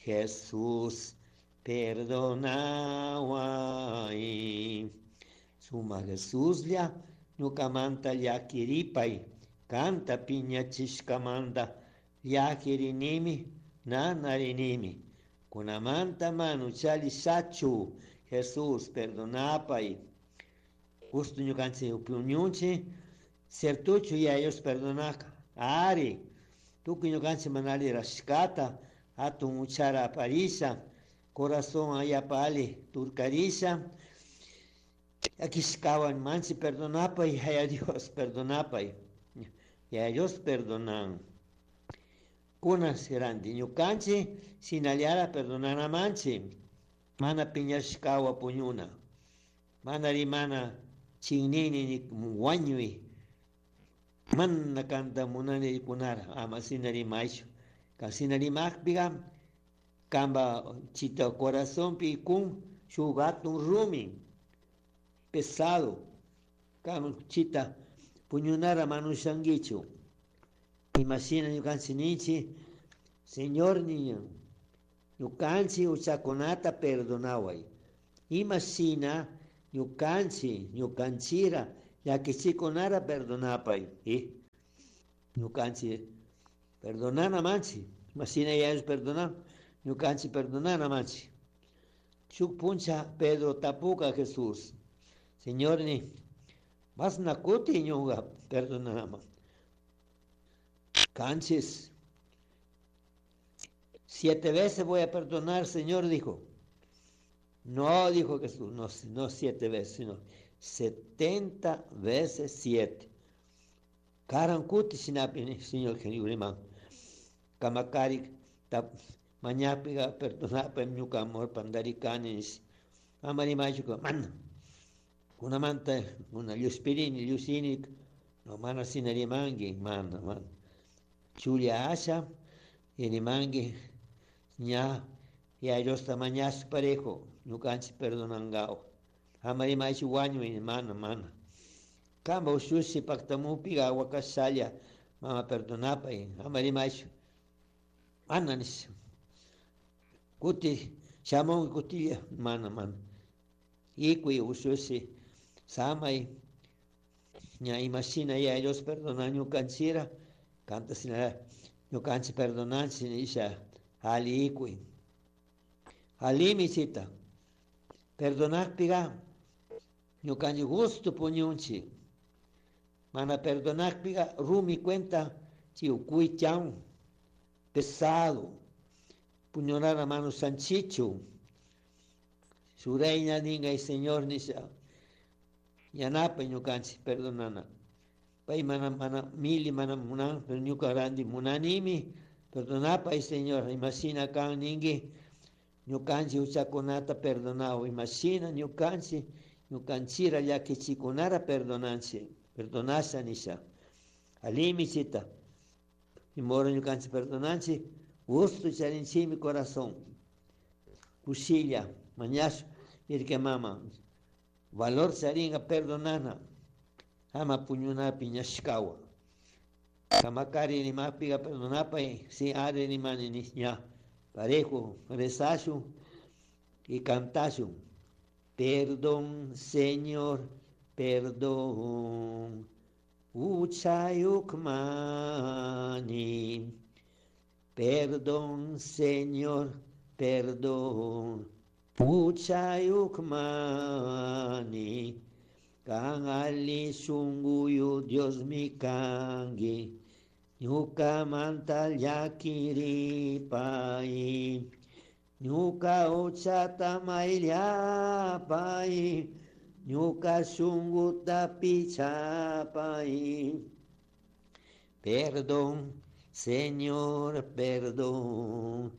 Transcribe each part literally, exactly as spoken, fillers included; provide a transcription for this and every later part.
Jesús perdonawai. Suma Jesuslla ñukamanta llakiripay, kanta piñachishkamanta llakirinimi, nanarinimi. Kunamanta manu chalishachu, Jesús perdonapay. Gusto ñukanchik puñunchik, ciertuchu Yaya Dios perdonaka. Ari, tukuy ñukanchik mana alli rashkata, hatun uchara aparisha, corazón ayapa ali turkarisha, llakishkawan manchi perdonapay, Yaya Dios perdonapay. Yaya Dios perdonan. Kunan ranti ñukanchik shinallara perdonanamanchik, mana piñashkawa puñuna, mana rimana chinini ni wañuy, mana kanta munani rikunara, ama shina rimaychu. Kan shina rimakpiga kamba chita corazonpi kun shuk hatun rumi pesado, kan chita puñunara mana ushankichu. Imashina ñukanchik ninchik, Señor niña, ñukanchik uchakunata perdonaway. Imashina ñukanchik, ñukanchira llakichikunara perdonapay. Eh? Ñukanchik perdonana manchik. Imashina Yaya Dios perdonan, ñukanchik perdonana manchik. Shuk puncha Pedro tapuka Jesús, Señor ni, masna kuti ñuka perdonama. Canchis. Siete veces voy a perdonar, Señor, dijo. No, dijo Jesús, no, no siete veces, sino setenta veces siete. Karan kuti shinapi, Señor Jesús, Kamakari, tap, mañapiga perdonapa ñuka amor pandarikani, amari machuka, mana. Kunamanta, una lluspirini, llusini, no mana sinarimangi, mana, mana. Chulia asha, irimangi, ña, ya Dios ta mañas parejo, ñukanchik perdonangao. Amari machu wañu, mana, mana. Kamba ushushi paktamupiga wakasalla, mama perdonapay, amari machu. Mana nis. Kuti, shamun kutilla, mana, mana. Ikui ushushi, samay, ña imashina ya Dios perdona ñukanchira, kanta sina ñukanchik perdonanchik nisha, ali ikui. Alimi chita, perdonakpiga, ñukanchik gusto puñunchik. Mana perdonakpiga, rumi cuenta, chiukuy chan, pesado, puñonara mano sanchichu. Su reina ninga y Señor nisha, yanapa ñukanchik perdonana. Pay mana, mana, mili mana munan, pero ñuka randi munanimi, perdonapa y Señor, imashina kan ningi, ñukanchik uchakunata perdonao, imashina ñukanchik, ñukanchira llakichikunara perdonanchik, perdonasha nisha. Alimi chita, imoro ñukanchik perdonanchik, gusto charinchimi corazón, kushilla, mañashu, irke mama, valor charinga perdonana, ama puñuna piñashkawa. Kamakari ni mapiga perdonapa y si are ni mani ni ña. Parejo, rezashu y cantashu. Perdón, Señor, perdón. Uchayukmani. Perdón, Señor, perdón. Uchayukmani. Kan ali shunguyu Dios mi kangi. Ñuka manta llakiripai. Ñuka uchata mayllapai. Ñuka shunguta pichapai. Perdón, Señor, perdón.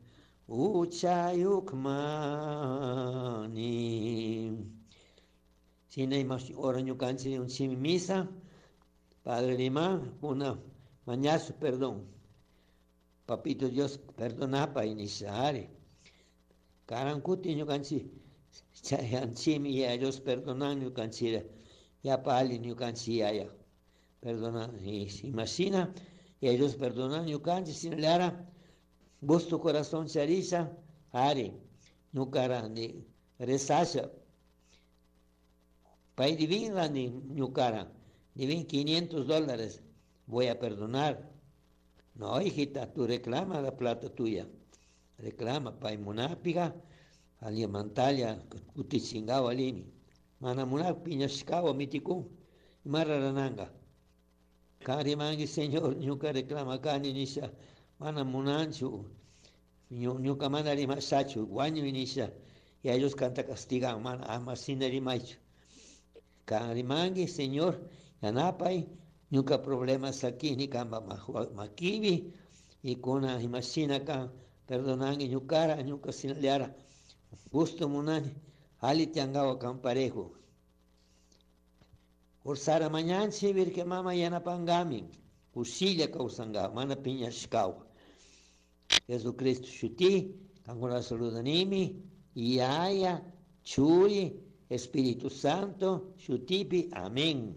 Uchayukmani. Sina imash ora ñukanchik un chimi misa, Padre Lima, una mañazo, perdón. Papito Dios, perdonapa inishare. Karankuti ñukanchik, chayanchimi ya Dios perdonan ñukanchira, ya pali ñukanchik ya ya. Perdona, y imagina, y ellos perdonan ñukanchik, sin lara, gusto corazón charisa, Ari, ñuka randi rezasha. Pay dibin randi ñukara, dibin quinientos dólares, voy a perdonar. No, hijita, tú reclama la plata tuya. Reclama, pay munapiga, alimantalla, kutichingawa alimi. Mana munak piñashkawa mitikun, imarrarananga. Kan rimangi, Señor, ñuka reclama kani nisha, mana munanchu, ñuka mana rimashachu, wañuy nisha, y a ellos kanta castigan, mana ama shina rimaychu. Kan rimangi, Señor, yanapay, ñuka problema sakini kamba makibi, y kuna imashina kan perdonangi ñukara, ñuka sinallara, gusto munani, ali tiangawa kan parejo. Ursara mañanchi virke mama yanapangami, kushilla kawsanga, mana piñashkawa. Jesucristo shuti, kankuna saludanimi, Yaya, Churi, Espíritu Santo, shutipi, amén.